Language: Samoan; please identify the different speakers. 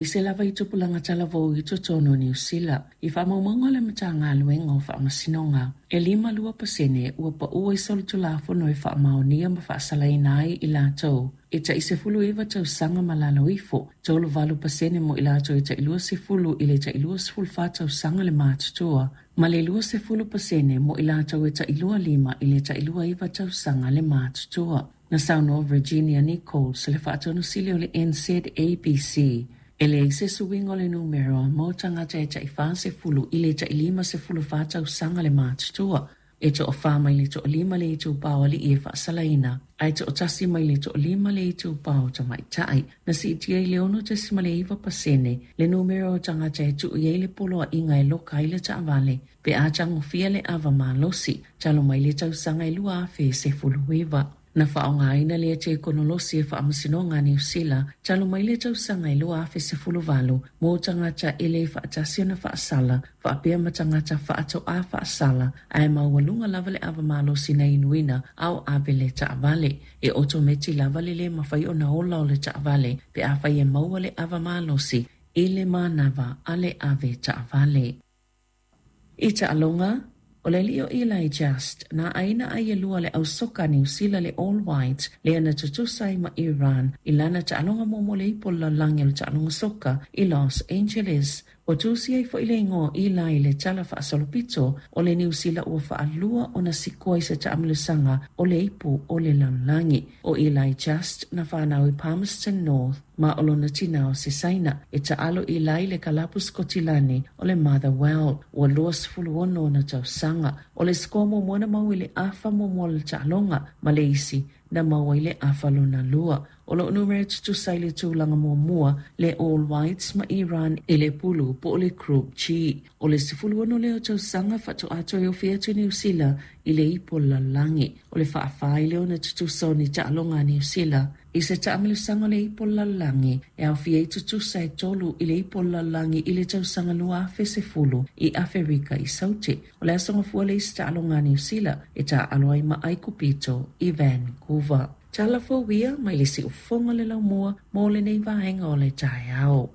Speaker 1: I se lava i tupulaga talavou i totonu o Niu Sila. I faamaumauga a le Matagaluega o Faamasinoga, e 52% ua paua i solitulafono e faamaonia ma faasalaina ai i latou e tai 19 tausaga ma lalo ifo, 38% mo i latou e tai 20 i le tai 24 tausaga le matutua, ma le 20% mo i latou e tai 25 i le tai 29 tausaga le matutua. Na saunoa Virginia Nicholls, le Faatonu Sili o le NZABC, e leai se suiga o le numera mo tagata e tai 40 i le tai 54 tausaga le matutua, e toafa mai le toalima le itupa o alii e faasalaina, ae toatasi mai le toalima le itupa o tamaitai. Na siitia i le 6.9% le numera o tagata e tuu i ai le poloaiga e loka ai le taavale pe a tagofia le ava malosi talu mai le tausaga e 2019. Na faaaogaina lea tekonolosi e Faamasinoga a Niu Sila talu mai le tausaga e 2018 mo tagata e le faatasi ona faasala faapea ma tagata faatoa faasala ae maualuga lava le ava malosi na inuina a o ave le taavale. E otometi lava le le mafai ona ola o le taavale pe afai e maua le ava malosi i le manava a le ave taavale. I taaloga, o le alii o Eli Just, na aina ai e lua le au soka a Niu Sila le All Whites lea na tutusa ai ma Iran i lana taaloga muamua o le Ipu o le Lalolagi o le Taaloga Soka i Los Angeles. Ua tusi ai foi le igoa o Eli i le tala faasolopito o le Niu Sila ua faalua ona sikoa i se taamilosaga o le Ipu o le Lalolagi. ʻO Eli Just na fanau i Palmerston North ma o lona tinā o se Saina. E taalo Eli i le kalapu Sikotilani o le Motherwell. Ua 26 ona tausaga. O le sikoa muamua na maua i le afa muamua o le taaloga ma le isi na maua i le afa lona lua. O lo o numera tutusa i le tulaga muamua le All Whites ma Iran i le pulu po o le Group G. O le 16 lea o tausaga faatoa toe ofi atu Niu Sila i le ipu o le lalolagi. O le faafa ai lea ona tutusa o ni taaloga a Niu Sila i se taamilosaga o le ipu o le lalolagi e aofia ai tutusa e tolu i le ipu o le lalolagi i le tausaga 2010 i Aferika i Saute. O le Aso Gafua le isi taaloga a Niu Sila e taaalo ai ma Aikupito i Vancouver. Tala fou ia mai le siufofoga o le laumua mo lenei vaega o le taeao.